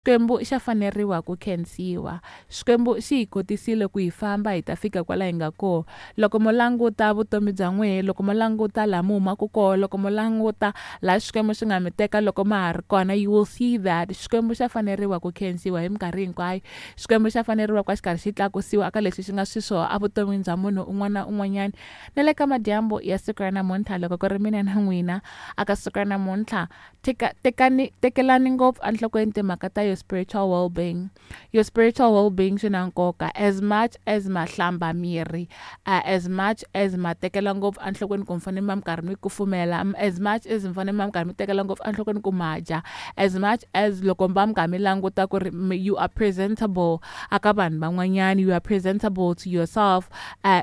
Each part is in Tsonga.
Xikwembu xa faneriwa ku khensiwa. Xikwembu xi hi kotisile ku hi famba hi ta fika kwala hi nga kona. Loko mo languta vutomi bya n'wehe, loko mo languta laha mi humaka kona, loko mo languta laha Xikwembu xi nga mi teka loko ma ha ri kona, you will see that Xikwembu xa faneriwa ku khensiwa hi minkarhi hinkwayo. Xikwembu xa faneriwa ku va xi karhi xi tlakusiwa eka leswi xi nga xiswona evuton'wini bya munhu un'wana na un'wanyana. Na le ka madyambu ya siku ra namuntlha loko ku ri mina na n'wina aka siku ra namuntlha teka tekani tekelani ngopfu enhlokweni timhaka ta your spiritual well-being. Your spiritual well-being swi na nkoka as much as ma hlamba miri, as much as ma tekela ngopfu enhlokweni ku mi fanele mi va mi karhi mi kufumela, as much as mi fanele mi va mi karhi mi tekela ngopfu enhlokweni ku ma dya, as much as loko mi va mi karhi mi languta ku ri you are presentable aka vanhu van'wanyana, you are presentable to yourself,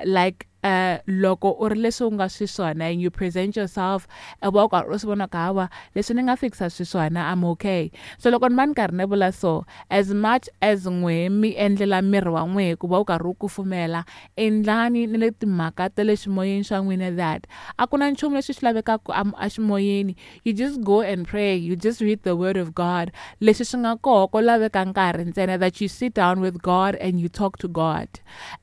like loko u ri leswi u nga xiswona and you present yourself, u va u karhi u swi vona ku hawa leswi ni nga fikisa xiswona, I'm okay. So loko ni va ni karhi ni vula so, as much as n'wehe mi endlela miri wa n'wehe ku va u karhi u kufumela, endlani ni le timhaka ta le ximoyeni xa n'wina, that a ku na nchumu lexi xi lavekaka eximoyeni. You just go and pray, you just read the word of God. Leswi swi nga koho ko laveka nkarhi ntsena that you sit down with God and you talk to God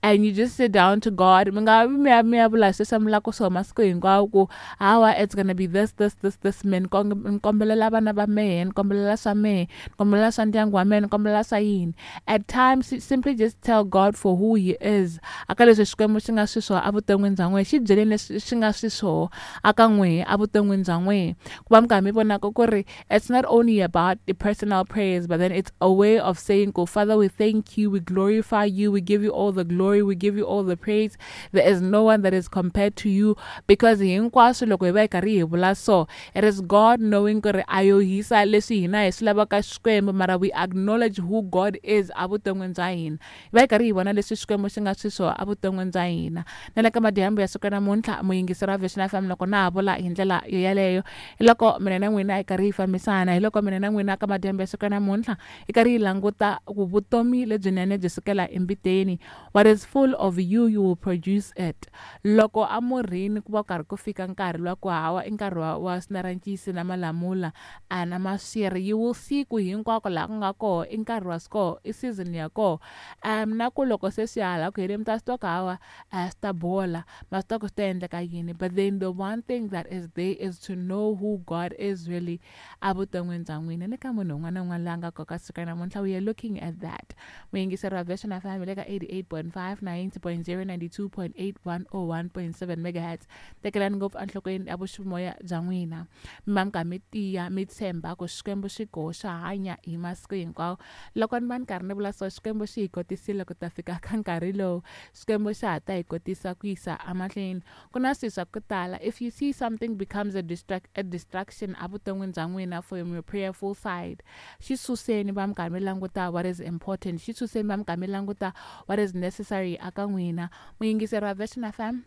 and you just sit down to God. Mi nga vi mi ya mi ya vula sweswi mi lava ku swo masiku hinkwawo ku hawa it's gonna be this, this, this, this. Me ni kombelela vana va mehe, ni kombelela swa mehe, ni kombelela swa ndyangu wa mehe, ni kombelela swa yini. At times simply just tell God for who he is. Aka leswi Xikwembu xi nga xiswona evuton'wini bya n'wehe, xi byeleni leswi xi nga xiswona aka n'wehe evuton'wini bya n'wehe, ku va mi karhi mi vonaka ku ri it's not only about the personal prayers, but then it's a way of saying go, Father, we thank you, we glorify you, we give you all the glory, we give you all the praise. There is no one that is compared to you. Because hinkwaswo loko hi va hi karhi hi vula so, it is God knowing ku ri a yo hisa leswi hina hi swi lavaka Xikwembu, mara we acknowledge who God is evuton'wini bya hina. Hi va hi karhi hi vona leswi Xikwembu xi nga xiswona evuton'wini bya hina. Na le ka madyambu ya siku ra namuntlha, muyingiseri wa Vision FM, loko na ha vula hi ndlela yo yaleyo, hi loko mina na n'wina hi karhi hi fambisana, hi loko mina na n'wina ka madyambu ya siku ra namuntlha hi karhi hi languta ku vutomi lebyinene byi sukela embiteni. What is full of you, you will produce it. Loko amurhini ku va ku karhi ku fika nkarhi luwa ku hawa i nkarhi wa swinarancisi na malamula a na maswiri, you will see ku hinkwako laha ku nga koho i nkarhi wa koho, i season ya koho. Na ku loko se swi ya hala ku heleni mi ta swi twa ku hawa a swi ta bola, ma swi twa ku swi ta endleka yini. But then the one thing that is there is to know who God is really evuton'wini bya n'wina. Ni ka munhu un'wana na un'wana loyi a nga koka siku ra namuntlha, we are looking at that. Muyingiseri wa Vision FM le ka 88.5, 90.0, 92.8, 101.7 megahertz. Tekelani ngopfu enhlokweni ya vuximoya bya n'wina, mi va mi karhi mi tiya, mi tshemba ku Xikwembu xi koho, xa hanya hi masiku hinkwawo. Loko ni va ni karhi ni vula so, Xikwembu xi hi kotisile ku ta fika ka nkarhi lowu, Xikwembu xa ha ta hi kotisa ku yisa emahlweni. Ku na swilo swa ku tala, if you see something becomes a distraction evuton'wini bya n'wina from your prayerful side, xi suseni, va mi karhi mi languta what is important, xi suseni, va mi karhi mi languta what is necessary aka n'wina. Muyingiseri wa Vision FM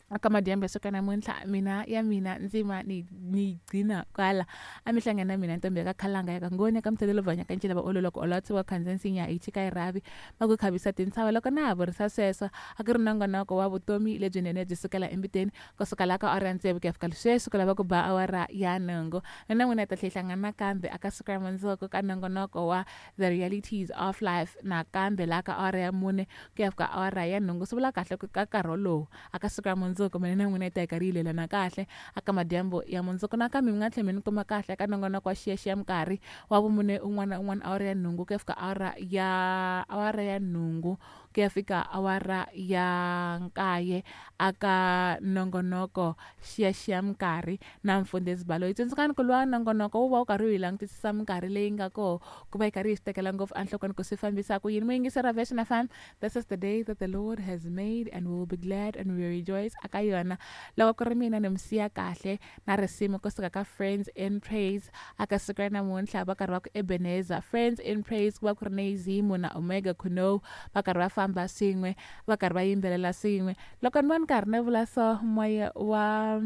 aka madyambu ya siku namuntlha, mina ya mina ndzima ni gcina kwala. A mi hlangana na mina ntombi ya ka Khalanga ya ka Ngoni ya ka Mthelelo Vanya ka Ncila va ololo ku olova tsiwa khandziya nsinya hi chika hi rhavi va ku khavisa tintshava. Loko na ha vurisa sweswo, a ku ri nongonoko wa vutomi lebyinene byi sukela embiteni, kusuka laha ka awara ya tsevu ku ya fika sweswi ku lava ku ba awara ya nhungu. Na n'wina hi ta tlhela hi hlangana nakambe aka siku ra mundzuku ka nongonoko wa The Realities of Life, nakambe laha ka awara ya 4 ku ya fika awara ya nhungu. Swi vula kahle ku ka nkarhi wolowo aka siku ra mundzuku mina na n'wina hi ta hi karhi hi lelana kahle aka madyambu ya mundzuku. Nakambe mi nga tlhela mi ni kuma kahle eka nongonoko wa xiyaxiya minkarhi wa vumune un'wana na un'wana awara ya nhungu ku ya fika awara ya nhungu ku ya fika awara ya 9 aka nongonoko xiyaxiya minkarhi na Mfundhisi Baloyi. Tsundzukani ku luwa nongonoko wu va wu karhi wu hi langutisisa minkarhi leyi nga koho, ku va hi karhi hi swi tekela ngopfu enhlokweni ku swi fambisa ku yini. Muyingiseri wa Vision FM, this is the day that the Lord has made and we will be glad and we will rejoice aka yona. Loko ku ri mina ni mi siya kahle na risimu kusuka ka Friends in Praise aka siku ra namuntlha, va karhi va ku Ebenezer. Friends in Praise ku va ku ri Neizimu na Omega Kuno, va karhi va famba swin'we, va karhi va yimbelela swin'we. Loko ni va ni karhi ni vula so, moya wa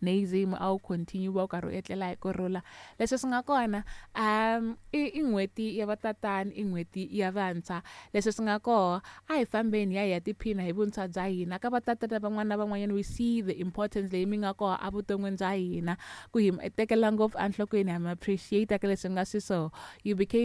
Nazimu a wu continue wu karhi u etlela hi kurhula. Leswi swi nga kona, i n'hweti ya vatatana, i n'hweti ya vantshwa. Leswi swi nga koho, a hi fambeni hi ya hi ya tiphina hi vuntshwa bya hina. Ka vatatana van'wana na van'wanyana, we see the importance leyi mi nga koho evuton'wini bya hina, ku hi tekela ngopfu enhlokweni, ha mi appreciate ka leswi nga swi so you became